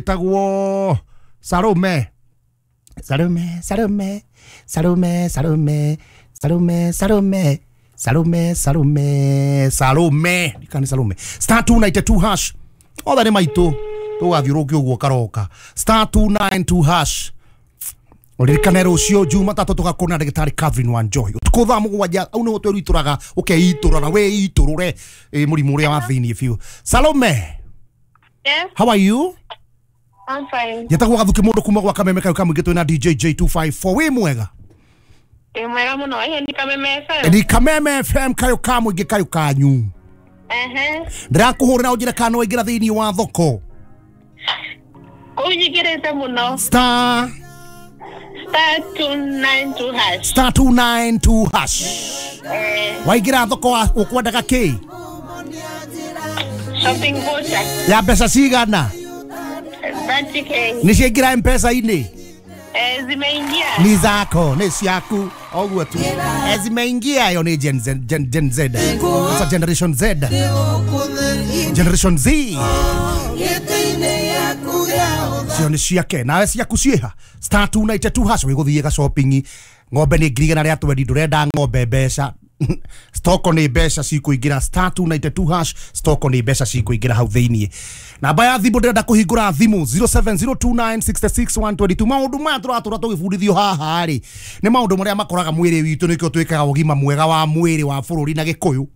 Wĩtagwo Salome. Salome, Salome, Salome, Salome, Salome, Salome, Salome, Salome, Salome. Ndikani Salome. Star 292 hash. Othe nĩ maitũ. Tũgathiũrũkia ũguo karoka. Star 292 hash. Ũririkane rũciũ Jumatatũ tũgakorwo na ndagĩtarĩ Catherine Wanjohi. Ũtukũ thaa 7 au nĩguo twĩrwitũraga ũkeitũra na wĩitũrũre mũrimũ ũrĩa wa thĩinĩ biũ. Salome. Yes. How are you? I'm fine. Njetagwo Gathuki mũndũ kuma gwa Kameme kayo kamũingĩ twĩna DJ J254. Wĩ mwega? Wĩ mwega mũno. Ĩĩ ni Kameme FM. Ni Kameme FM kayo kamũingĩ kayo kanyu. Ehe. Ndĩrakũhũrĩra ũnjĩre kana nĩwaingĩra thĩinĩ wa thoko. Kũu nyingĩrĩte mũno. Star Star 292 hash. Star 292 hash. Waingĩra thoko ũkwendaga kĩ? Shopping voucher. Ya mbeca cigana? 30K. Nĩ ciaingĩra M-Pesa-inĩ? Zimeingia. Ni zako, ni ciaku. Oguo tu. Zimeingia yo ni Gen Z, Gen Z. Sasa Generation Z. Generation Z. Cio nĩ ciake. Nawe ciaku ciĩha. Star 292 hash wĩgũthiĩ ga shopping. Ng'ombe nĩ 120,000 ndũrenda ng'ombe mbeca. Stoko nĩ mbeca cikũingĩra. Star 292 hash stoko nĩ mbeca cikũingĩra hau thĩinĩ. Namba ya thimũ ndĩrenda kũhingũra thimũ 0702966122. Maũndũ maya tũratũra tũgĩbundithio haha rĩ nĩ maũndũ marĩa makoraga mwĩrĩ witũ, nĩkĩo twĩkaga ũgima mwega wa mwĩrĩ wa bũrũri na Gĩkũyũ.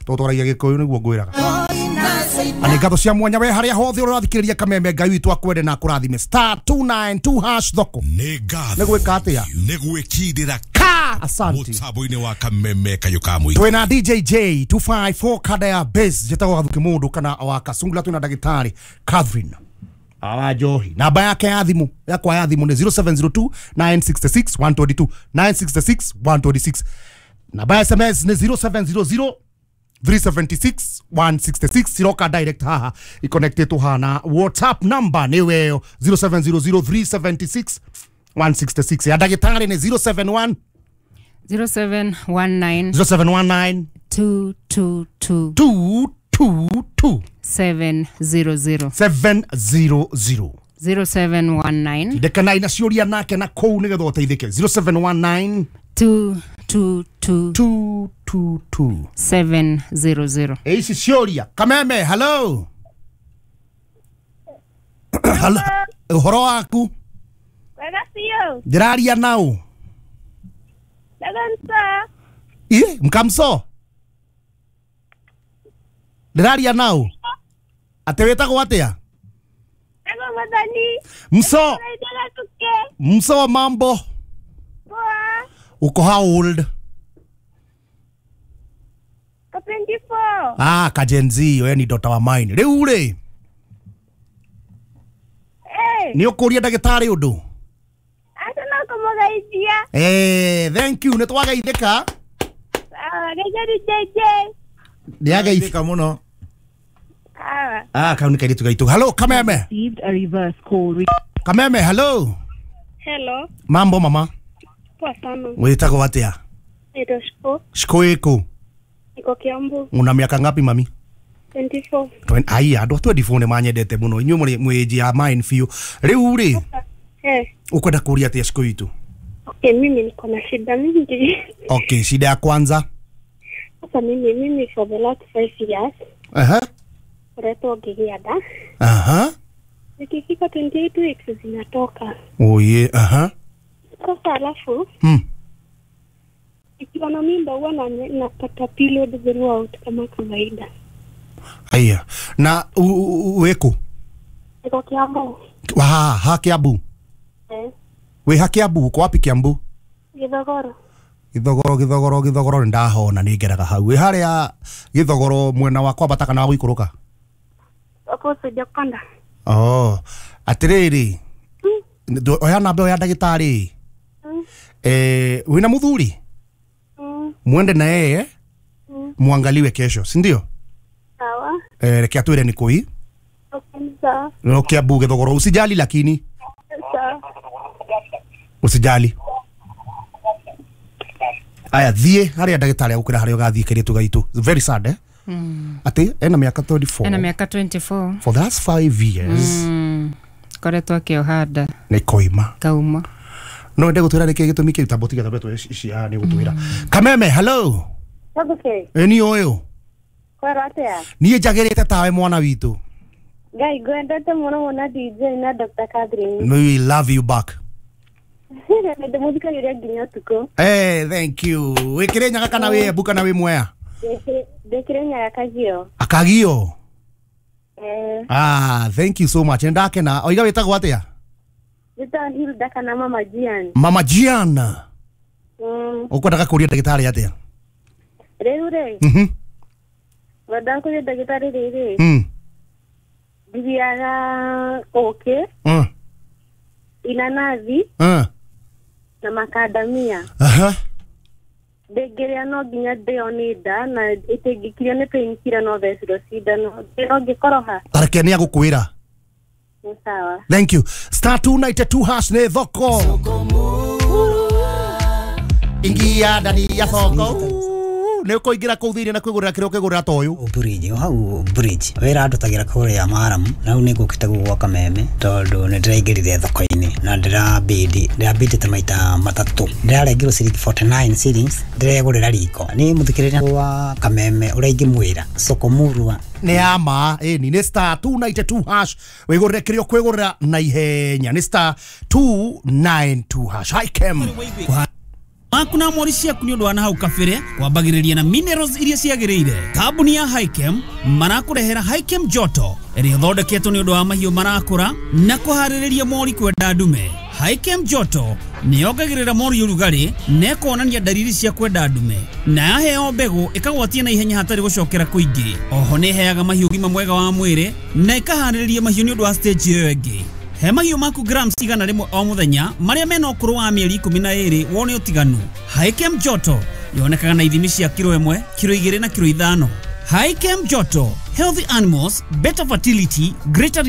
Tondũ twaragia Gĩkũyũ nĩguo ngwĩraga. Na nĩ ngatho cia mwanya we harĩa hothe ũrathikĩrĩria Kameme. Ngai witũ akwende na akũrathime. Star 292 hash thoko. Nĩ ngatho. Nĩ gwĩka atĩa? Nĩ gwĩkindĩra ka. Asante. Mũtambo-inĩ wa Kameme kayo ka mũingĩ. Twĩna DJ J254 kada ya base. Njĩtagwo Gathuki mũndũ kana wa Kasungula. Twĩna ndagĩtarĩ Catherine Wanjohi. Namba yake ya thimũ yakwa ya thimũ nĩ 0702 966 122 966 126. Namba ya SMS nĩ 0700 376 166. Iroka direct haha iconnected haha na WhatsApp number nĩ weyo 0700 376 166. Ya ndagĩtarĩ nĩ 071 0719 0719 222 222 700 700. 0719 Ndekanai na ciũria nake na kũu nĩgetha ũteithĩke. 0719 222 222 700. Ici ciũria. Kameme, hello. Hello. Ũhoro waku? Wega biũ. Ndĩraria nau. Ndagansa. Ĩ, mkamso. Ndĩraria nau. Atĩ wĩtagwo atĩa? Ndagwo Mathani. Mso. Mso, mambo. Poa. Uko how old? Ka 24. Ah, ka Gen Z, we ni daughter wa mine. Rĩu rĩ. Nĩ ũkũria ndagĩtarĩ ũndũ? Aca no kũmũgeithia. Thank you, nĩ twageithĩka. Geithia JJ. Nĩ ageithĩka mũno. Ah, kau nĩ kairĩtu gaitũ. Hello, Kameme. A reverse call. Kameme, hello. Hello. Mambo mama. Poa sana. Wĩtagwo atĩa? Naitwa Shiko. Shiko ĩkũ? Niko Kiambu. Una miaka ngapi mami? 24. Ai, andũ a 24 nĩ manyendete mũno. Inyuĩ mũrĩ mwĩ ya mine biũ. Rĩu rĩ, ũkwenda kũria atĩa Shiko witũ? Okay, mimi niko na shida mingi. Okay, shida ya kwanza? Sasa mimi for the last 5 years. Aha. Ngoretwo ngĩgĩa nda. Aha. Nikifika 28 weeks zinatoka. Oye, aha. Sasa alafu ikiwa na mimba huwa napata period throughout kama kawaida. Aya. Na wĩkũ? Niko Kiambu. Ha Kiambu. Wĩ ha Kiambu, uko wapi Kiambu? Githogoro. Githogoro ndahona nĩ ngeraga hau. Wĩ harĩa Githogoro mwena wa kwambata kana wa gũikũrũka? Opposite Jakonda. Oh, atĩrĩrĩ. Oya namba ya ndagĩtarĩ. Wĩna mũthuri? Mwende na yeye. Muangaliwe kesho, si ndio? Sawa. Reke atwĩre nĩ kũi. Okay, sawa. No Kiambu Githogoro, usijali lakini. Sawa. Usijali. Aya, thiĩ harĩa ndagĩtarĩ agũkwĩra harĩa ũgathiĩ kairĩtu gaitũ. Very sad, eh? Atĩ ena miaka 24. Ena miaka 24. For the last 5 years. Koretwo akĩoha nda. Nĩ koima. Kauma. No wende gũtwĩra nĩkĩ gĩtũmi kĩu tambo tiga tambe tũe ici haha nĩ gũtwĩra. Kameme, hello. Okay. Ĩ niĩ ũyũ. Kwero atia? Niĩ njagĩrĩte tawe mwana witũ. Ngai ngwendete mũno mũno DJ na Dr. Catherine. We love you back. Ndĩmũthikagĩrĩria nginya ũtukũ. Hey, thank you. Wĩ Kĩrĩnyaga kana wĩ Embu kana wĩ Mwea? Ndĩ Kĩrĩnyaga Kagio. Akagio. Eh. Ah, thank you so much. Nĩndakena. Oiga wĩtagwo atĩa? Njĩtagwo Hilda kana Mama Gian. Mama Gian. Ũkwendaga kũria ndagĩtarĩ atĩa? Rĩu rĩ. Ngwendaga kũria ndagĩtarĩ rĩrĩ. Ndithiaga ũkĩ. Inanathi. Na makandamia. Ndĩngĩrĩa no nginya ndĩo nĩ nda na ĩtĩngĩkirio nĩ painkiller no thecirwo cindano. No ngĩkoroha. Tareke nĩ agũkwĩra. Nĩ sawa. Thank you. Star 292 hash nĩ thoko. Ingia ndani ya thoko. Nĩ ũkũingĩra kũu thĩinĩ na kwĩgũrĩra kĩrĩa ũkĩgũrĩra ta ũyũ. Bridge o hau bridge wĩra ndutagĩra kũrĩa maramu na rĩu nĩ ngũkĩte gũkũ gwa Kameme tondũ nĩ ndĩraingĩrire thoko-inĩ na ndĩrabindĩte maita matatũ ndĩrarengirwo ciringi 49 shillings ndĩregũrĩra riko nĩ mũthikĩrĩria wa Kameme ũrĩa ingĩmwĩra soko murwa nĩ ya ma ĩni nĩ star 292 hash wĩgũrĩre kĩrĩa ũkwĩgũrĩra na ihenya nĩ star 292 hash. Hi Kem. Maku na mori ciaku nĩ ũndũ wa na hau kabere kwambagĩrĩria na minerals iria ciagĩrĩire. Kambuni ya Hikem marakũrehera Hikem Joto ĩrĩa ĩthondeketwo nĩ ũndũ wa mahiũ marakũra na kũharĩrĩria mori kwenda ndume. Hikem Joto nĩ yongagĩrĩra mori ũrugarĩ na ĩkonania ndariri cia kwenda ndume na yaheo mbegũ ĩkagwatia na ihenya hatarĩ gũcokera kũingĩ. Oho nĩ ĩheaga mahiũ ũgima mwega wa mwĩrĩ na ĩkaharĩrĩria mahiũ nĩ ũndũ wa stage ĩyo ĩngĩ. He mahiũ maku grams 100 o mũthenya marĩa mena ũkũrũ wa mĩeri 12 wone ũtiganu. Hikem Joto yonekaga na ithimi cia kiro 1, kiro 2 na kiro 5. Hikem Joto, healthy animals, better fertility, greater